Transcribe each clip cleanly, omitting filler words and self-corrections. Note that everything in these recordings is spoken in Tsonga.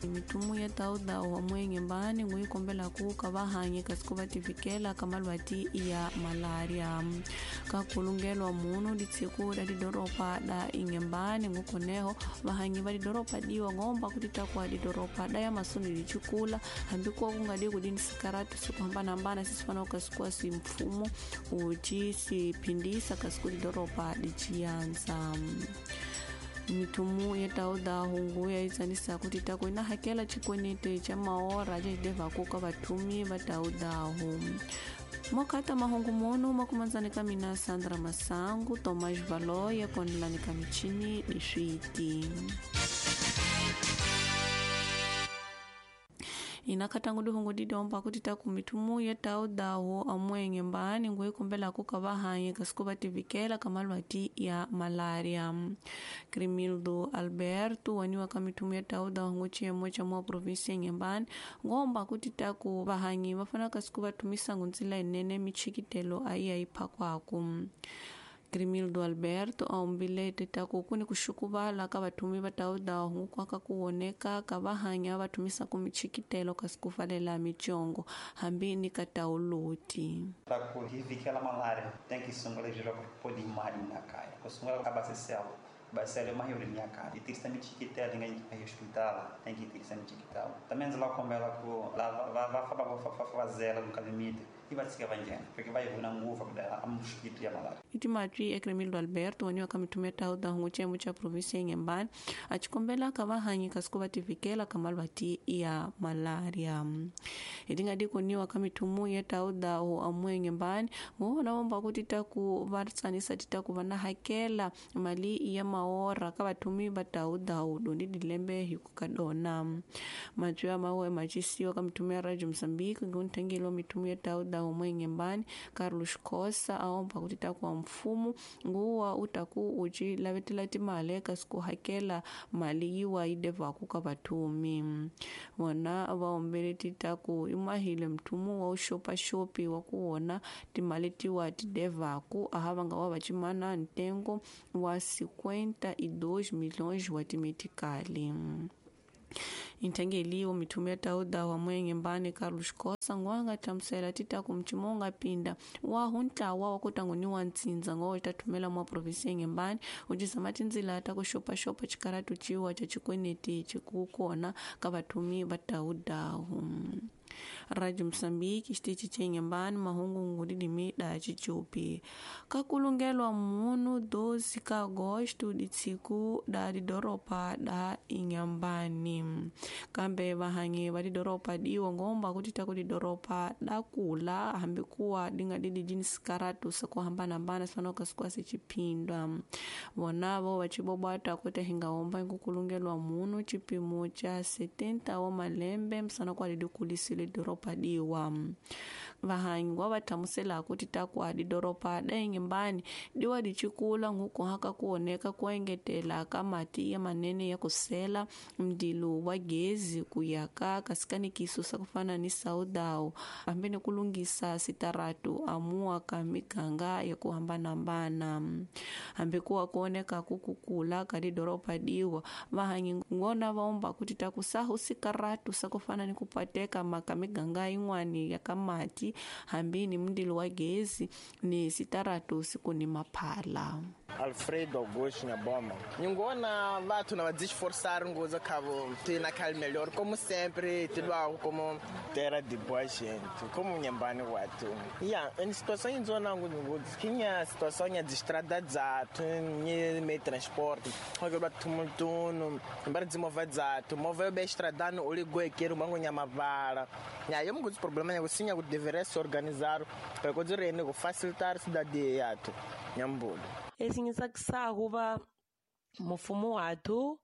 Mitumu ya tauda wa mwenge mbani nguikombela kuka vahanyi kasi ku va tivikela ka malwati ya malaria ka kulungelwa munu litsiku la lidoropa da ingembani ngukoneho vahanyi va lidoropa diwa ngomba kuti takwa lidoropa da ya masuni lichikula hambi kuwa kungadi kudini sikaratu sikuhambanahambana sisifana kasikuwa si mfumo uci siphindisa kasi ku lidoropa lichiyanza. Mitumu ya tauda hungu ya itsanisa kuti tako ina hakela chikwenete cha maora cha kuka vathumi va taudahu. Mokata mahungu mono makumanzanika mina Sandra Masangu, Tomás Valoia, konelanika michini diswiti. Inakatangu dihungu didomba kuti taku mitumu ya taudaho amwenge mbani nguikumbela kuka vahanyi kasiku vativikela kamalwati ya malaria. Crimildo Alberto waniwa ka mitumu ya taudaho nguchiyemo cha mwa provinsia Inhambane ngomba kuti taku vahanyi vafana kasiku vathumisa ngunzila inene michikitelo ayi ayiphakwaku. Crimildo Alberto aombile tetaku kuni kuxukuvala ka vathumi va taudaho nkukwaka kuwoneka ka vahanya vathumisa ku michikitelo kasi ku falela michongo hambi ni ka tauloti. Ku hivikela malaria tem que sungula jira podi mali na kaya. Ku sungula ka baseselo. Baselo mahuri minha cara. E tirsa michikitelo ngai ngai hospital, tem que tirsa michikitelo. Também lá com ela ku lá lá lá fa fazela no calimite. E vai se vai porque vai na nguva dela a mosquito ya malaria. Itimatwi Crimildo Alberto waniwa kamitumia tauda hungu cha provinsia Inhambane achikombela ka vahanyi kasi ku vativikela ka malwati ya malaria. Itingadi kuniwa kamitumu ya tauda hu amwe Inhambane nguona omba kuti taku vatsanisa titaku vana hakela mali ya maora ka vathumi va tauda hu dondi dilembe hikukadona. Matwi ya mawe machisiwa kamitumia Radio Mozambique ngunthengelo mitumu ya tauda umwe Inhambane Carlos Costa aomba kuti takuwa mfumo nguwa utaku uci lavetela timali kasi ku hakela mali yiwa idevaku ka vathumi. Vona vaombele titaku imahile mthumu wa uxopaxopi wa ku wona timali tiwa tidevaku aha va nga wa vacimana ntengo wa 52 milhões wa timetikali. Inthengeliwo mithumu ya tauda wa Inhambane Carlos Costa ngwanga hlamusela titaku mchimonga pinda wa huntlawa wa kutanguniwa ntsindza ngo tathumela mwa provinsia Inhambane ucizama tindzila ta ku xopaxopa xikaratu ciwa cha xikweneti xikukona ka vathumi va taudahu. Radio Mozambique xitichi cha Inhambane mahungu ngudidimi da chichupi. Kakulungelwa munu 12 ka agosto ditsiku da didoropa da Inhambane. Kambe vahanyi va didoropa diwa ngomba kuti taku didoropa da kula hambi kuwa dinga didi jini sikaratu sa ku hambanahambana sifanoka sikuwa sichiphindwa. Vonavo vachibobwata kuti hingaomba nkukulungelwa munu chipimo cha 70 wa malembe msana kwa didikulisile doropa diwa. Vahanyi wa vathamusela kuti takwa didoropa da Inhambane diwa dichikula nkukuhaka kuoneka kuengetela ka mati ya manene ya kusela mdilu wa gezi kuyaka kasikanikiso sa kufana ni saudao hambi ni kulungisa sitaratu amuwa ka miganga ya kuhambanahambana. Hambi kuwa kuoneka kukukula ka didoropa diwa vahanyi ngona vaomba kuti takusahu sikaratu sa kufana ni kupateka maka miganga yin'wani ya ka mati hambi ni mndilo wa gezi ni sitaratu siku ni maphala. Alfredo Augusto Nyaboma. Ningona vatu na desforçar ngoza cabo tem naquele melhor como sempre tudo algo como terra de boa gente como Inhambane watu. Yeah, em situação em zona tinha situação de estrada zato, ni transporte. Agora tumultuno, embora desenvolver zato, mover bem estrada no oligo mango nyamavala. Ya eu muitos problemas eu sim eu deveria se organizar para conseguir facilitar cidade yato. Nyambulo. Esingisakisa kuva mufumo wathu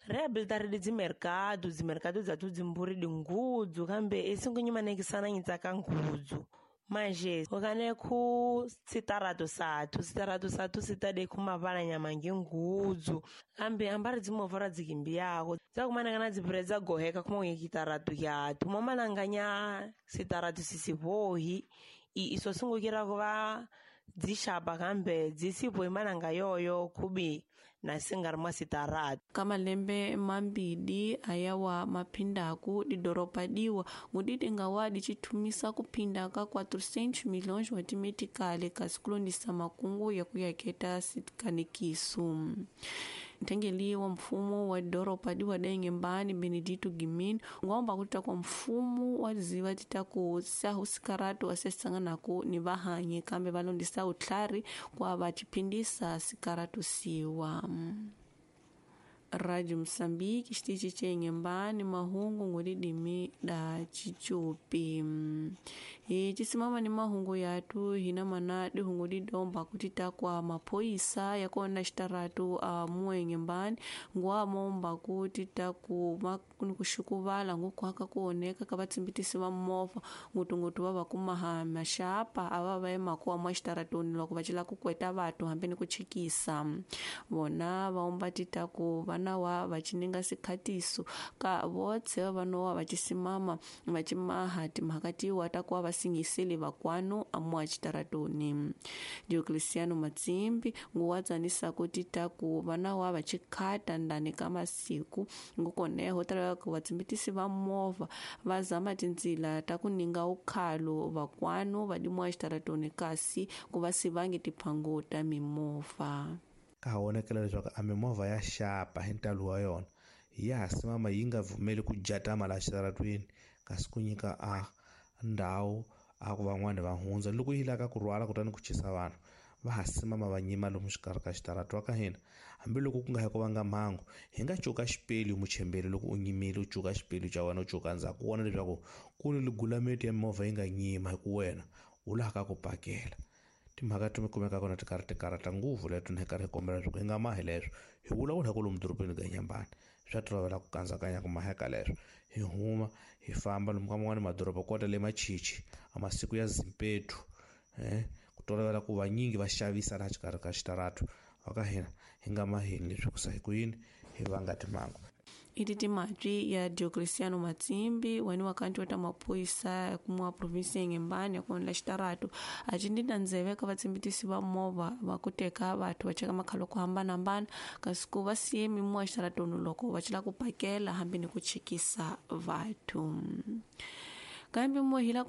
rehabilitare dzimerkado dzimerkado dzathu dzimburi dingudzu kambe esingunyimanekisana nyitsaka ngudzu manje okane khu sitarato sathu sitarato sathu sitade khu mavala nyama ngengudzu kambe ambari dzimovha ra dzikimbiyako dzakumanangana dzipure dzagoheka khuma kitarato yathu momalanganya sitarato sisivohi iso singukira kuva dzixapa kambe dzisipo imalanga yoyo khubi na singari mwa sitaratu. Ka malembe mambili ayawa maphindaku didoropa diwa ngudidi nga dicithumisa kuphinda ka 400 milhões wa timetikali kasi kulondisa makungu ya kuyaketa sikanekiso. Nthengeli wa mfumo wa doropa diwa da Inhambane Benedito Guimino ngomba kuti kwa mfumo wa ziva titaku sahu sikaratu asesanganaku ni vahanyi kambe valondisa utlhari kwa vaciphindisa sikaratu siwa. Rádio Moçambique, xitichi ce Inhambane, mahungu ngulidimi da Chichupi. Hi cisimama ni mahungu yatu hina mana dihungu didomba kuti takwa maphoyisa yakona xitaratu a muwe Inhambane nguwamomba kuti taku kuxukuvala ngukuhaka kuoneka ka vatsimbitisi va movha ngutungutu va va kumaha maxapa ava va emakuwa mwa xitaratuni loko va cela ku kweta vatu hambi ni ku chikisa vona va omba ti taku vana wa va cininga sikhatiso ka votse va vanowa va cisimama va cimaha timhaka tiwa ta kuva va singiseli vakwanu amuwa xitaratuni. Diocleciano Matsimbi nguwa tsanisa kuti taku vana wa va cikhata ndani ka masiku ngukoneho talaka vatsimbitisi va movha va zama tindzila ta ku ninga ukhalo vakwanu va dimuwa xitaratuni kasi ku va sivangi tiphangu ta mimovha. Ka ha vonakela leswaku a mimovha ya xapa hi ntalo wa yona ya ha simama yi nga pfumeli ku jatama laha xitaratwini kasi ku nyika a ndhawu a ku van'wani va hundza loko yi lava ku rhwala kutani ku chisa vanhu va ha simama va nyima lomu xikarhi ka xitaratu wa ka hina hambiloko ku nga hi ku vanga mhangu hi nga cuka xipelu muchemberi loko u nyimile u cuka xipelu xa wena u cuka ndzhaku u vona leswaku ku ni ligulameti ya mimovha yi nga nyima hi ku wena u laha ka ku pakela. Timhaka ti kumeka kona ti karhi ti karhata ngopfu leto ni karhi hi kombela leswaku hi nga mahi leswo hi vulavula ku lomu dorobeni ka Inhambane swa tolovela ku kandzakanya ku maheka leswo hi huma hi famba lomu ka man'wani madoroba kota le Machichi a masiku ya Zimpetu ku tolovela ku vanyingi va xavisa laha xikarhi ka xitaratu wa ka hina hi nga mahini leswi ku sa hi ku yini hi vanga timhangu. Iti timatwi ya Diocleciano Matsimbi wani wakanti wa ta maphoyisa kumwa provinsi ya Inhambane ya kuonela xitaratu a cindina ndzeve ka vatsimbitisi va movha va ku teka vathu va cheka makhalo ku hambanahambana kasi ku va siye mimuwa xitaratuni loko va cela ku pakela hambi ni ku chikisa vathu. Kambe muhila